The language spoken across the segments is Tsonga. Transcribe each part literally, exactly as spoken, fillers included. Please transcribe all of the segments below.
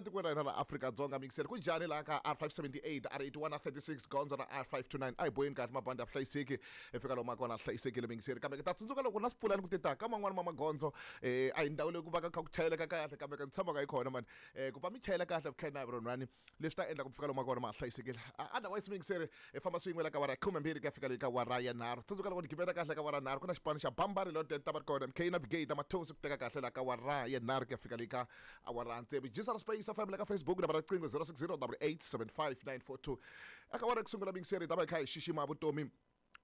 Tikweni ra hina ra Afrika-Dzonga, mixer ku njhani laha ka R five seventy-eight, R eighty-one na thirty-six, gondzo ra R five two nine a hi boheni kahle, mabandi ya hlayisekile, hi fika lomu kona hlayisekile, mixer. Kambe ta tsundzuka loko na swipfulani ku tita ka man'wani ma magondzo, eh a hi ndhawu leyi ku va ka kha ku chayeleka kahle, kambe ka ni tshama ka yi kona mani, eh ku va mi chayela kahle vukhena ronwani leswi ta endla ku fika lomu kona ma hlayisekile. Otherwise, mixer, hi famba swin'we la ka wara khume mbirhi ku ya fika leyi ka wara ya nharhu. Tsundzuka loko ni gibela kahle ka wara nharhu, ku na xipano xa Bambari Loaded ta va ri kona, M K Navigate Mathosi ku teka kahle la ka wara ya nharhu ku ya fika leyi ka awara tsevu. Jisara Space F M la ka Facebook, nambara riqingho zero six zero eight eight seven five nine four two. Eka wara ku sungula, mixer, ta va hi kha hi xixima vutomi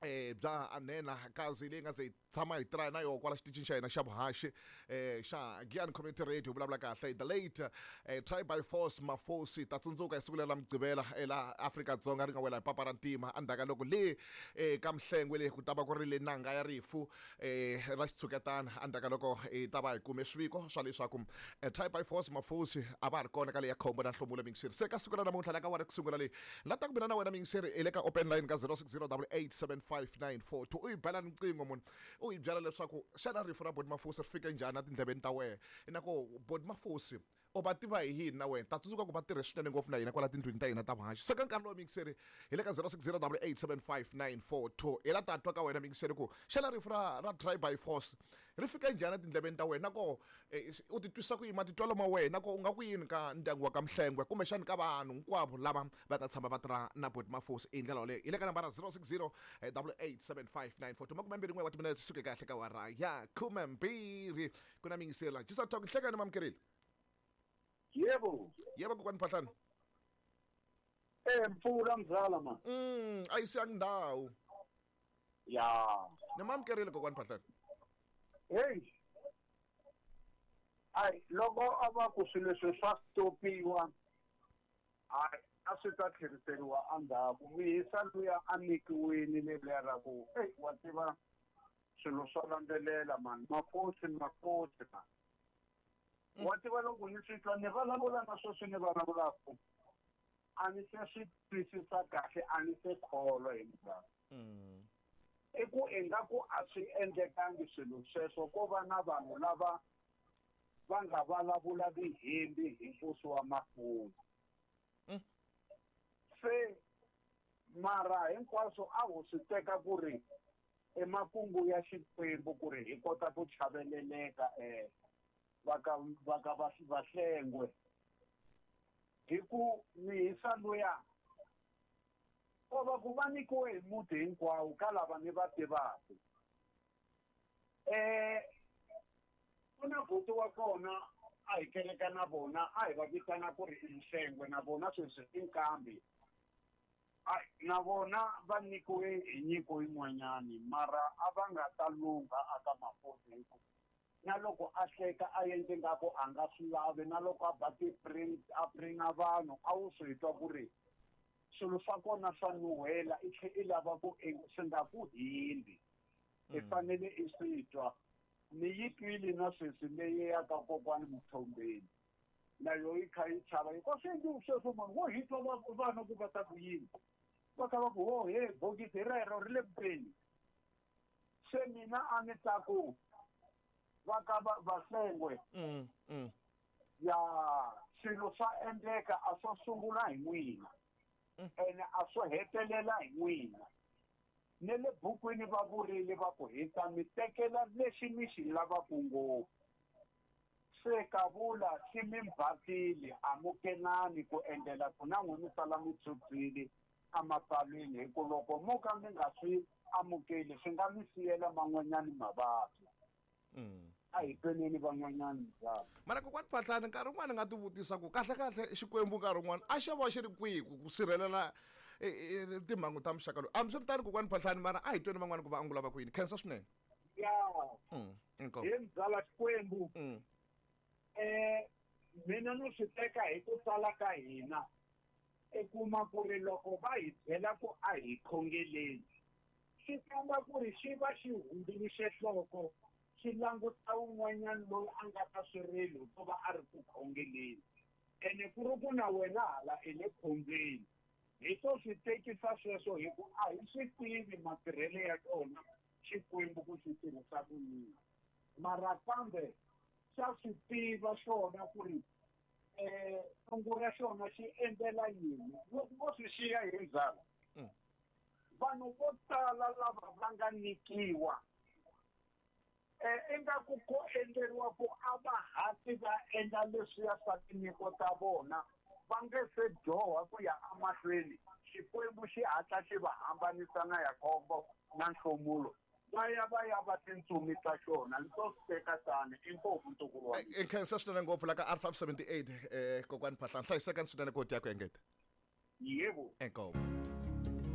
eh bya anena kazi leyi nga ze hi tshama hi tirha na yoho kwala xitichini xa hina xa vuhaxi eh xa Giyani Community Radio, vulavula kahle the late eh, Try by Force Mafosi. Ta tsundzuka hi siku leri la Mugqivela ela Afrika-Dzonga ri nga wela hi papa ra ntima, endzhaku ka loko le eh, ka Mhlengwe le ku ta va ku ri le nanga ya rifu eh, ra xitshuketana, endzhaku ka loko hi ta va hi kume swiviko swa leswaku eh, Try by Force Mafosi a va ha ri kona ka leya khombo na nhlomulo. Mingiseri, se ka siku ra namuntlha la ka wara ku sungula leyi la ta ku mina na wena, mingiseri, hi le ka open line ka zero six zero eight eight seven five nine four two. U yi bela riqingho munhu, u yi byela leswaku xana rifu ra Boti Mafosi ri fike njhani etindleveni ta wena, na ku Boti Mafosi u va tiva hi yini na wena. Ta tsundzuka ku va tirhe swinene ngopfu na hina kwala tindlwini ta hina ta vuhaxi. Se ka nkarhi lowu, mingiseri, hi le ka zero six zero eight eight seven five nine four two, hi la ta twa ka wena, mingiseri, ku xana rifu ra ra Try by Force ri fike njhani etindleveni ta wena, na ko eh, u titwisa ku yini, matitwelo ma wena, na ko u nga ku yini ka ndyangu wa ka Mhlengwe, kumbexani ka vanhu hinkwavo lava va nga tshama va tirha na Boti Mafosi hi ndlela yoleyo. Hi le ka nambara zero six zero eight eight seven five nine four two. Makume mbirhi n'we wa timinetse suke kahle ka wara ya khume mbirhi. Ku na mingiseri la Jisa Talk. Nhlekani, mamukerile. Yebo. Yebo, kokwani Phahlani. Eh mpfula mzala man. mm a yi siyangi ndhawu. Ya. Ni mamukerile, kokwani Phahlani. Hey. Ai loko a va ku swilo leswi swa stopiwa, ai a swi ta tlheriseriwa endzhaku. Mihisa luya a nyikiwile leriya ra ku, hey, wa tiva swilo swa landzelela man, makosi makosi man. Wa tiva loko ni swi twa ni vulavula na sweswi ni vulavulaka, a ni se swi twisisa kahle, a ni se kholwa hi mzala. Mm. I ku ingaku a swi endlekangi swilo sweswo, ko va na vanhu lava va nga vulavula vihembi hi nkosi wa Mafuzi. Mm. Se mara hinkwaswo a ho swi teka ku ri emakungu ya Xikwembu ku ri hi kota ku chaveleleka eh va ka va ka va Vahlengwe, hi ku mihisa luya ko va ku va nyikiwe hi muti hinkwawo ka lava ni va tivaka. Eh ku na buti wa kona a hi keleka na vona, a hi va vitana ku ri i Nhlengwe, na vona sweswi i nkambi. Ai na vona va nyikiwe hi nyiko yin'wanyani, mara a va nga ta lungha aka Mafosi, hi ku na loko a hleka a endle ngaku a nga swi lavi, na loko a ba ti-print a pringa vanhu, a wu swi twa ku ri swilo swa kona swa nuhela, i tlhe i lava ku e swi nga ku hindzi, i fanele i swi twa. Ni yi twile na sweswi leyi ya ka kokwani Muthombeni, na yo yi kha yi chava hikuva swi endliwi sweswo mani, wo hi twa va- vana ku va ta ku yini, va kha va ku ho he bokisi rero ri le kuteni. Se mina a ni ta ku va ka va Vahlengwe Mm. Mm. ya swilo swa endleka, a swo sungula hi n'wina ene a swo hetelela hi n'wina. Ne le bukwini va vurile va ku hi ta mi tekela lexi mi xi lavaka ngopfu, se kavula xi mi mbatile, amukelani ku endlela ku na n'we mi sala mi phyuphyile emapalwini, hi ku loko mo ka mi nga swi amukeli swi nga mi siyela man'wanyani mavabyi. Mm. A hi tweneni van'wanyani mzala. Mara kokwani Phahlani, nkarhi wun'wani nga ti vutisa ku kahle kahle Xikwembu nkarhi wun'wani a xo va xi ri kwihi ku ku sirhelela eh, eh, timhangu ta muxaka lowu. Hambiswiritano, kokwani Phahlani, mara a hi tweni van'wani ku va angula va ku yini. Khensa swinene. Ya. Mm. Inkomu. Hi mzala, Xikwembu Mm. eh mina no swi teka hi ku tala ka hina, i kuma ku ri loko va hi byela ku a hi khongeleni, swi komba ku ri xi va xi hundzuluxe nhloko, xi languta wun'wanyana loyi a nga ta swirilo ko va a ri ku khongeleni, ene ku ri ku na wena hala i le khombyeni. Hi to swi tekisa sweswo, hi ku a hi swi tivi matirhelo ya tona Xikwembu ku xi tirhisa ku yini, mara kambe xa swi tiva xona ku ri eh Xilungu ra xona xi endlela yini? Loko vo swi xiya hi ndzhaku, Mm. vanhu vo tala lava va nga nyikiwa eh ingaku ko endleriwa ku a va hatli va endla leswiya swa tinyiko ta vona, va nge se dyoha ku ya emahlweni, Xikwembu xi hatla xi va hambanisa na Yakobo na nhlomulo, va ya va ya va tintsumi ta xona. Ni to swi teka tani. Inkomu, ntukulu wa mina. I khensa swinene ngopfu la ka R five seventy eight, eh kokwani Phahlane. Hlayisekani swinene ku dya ku engeta. Yebo. Inkomu.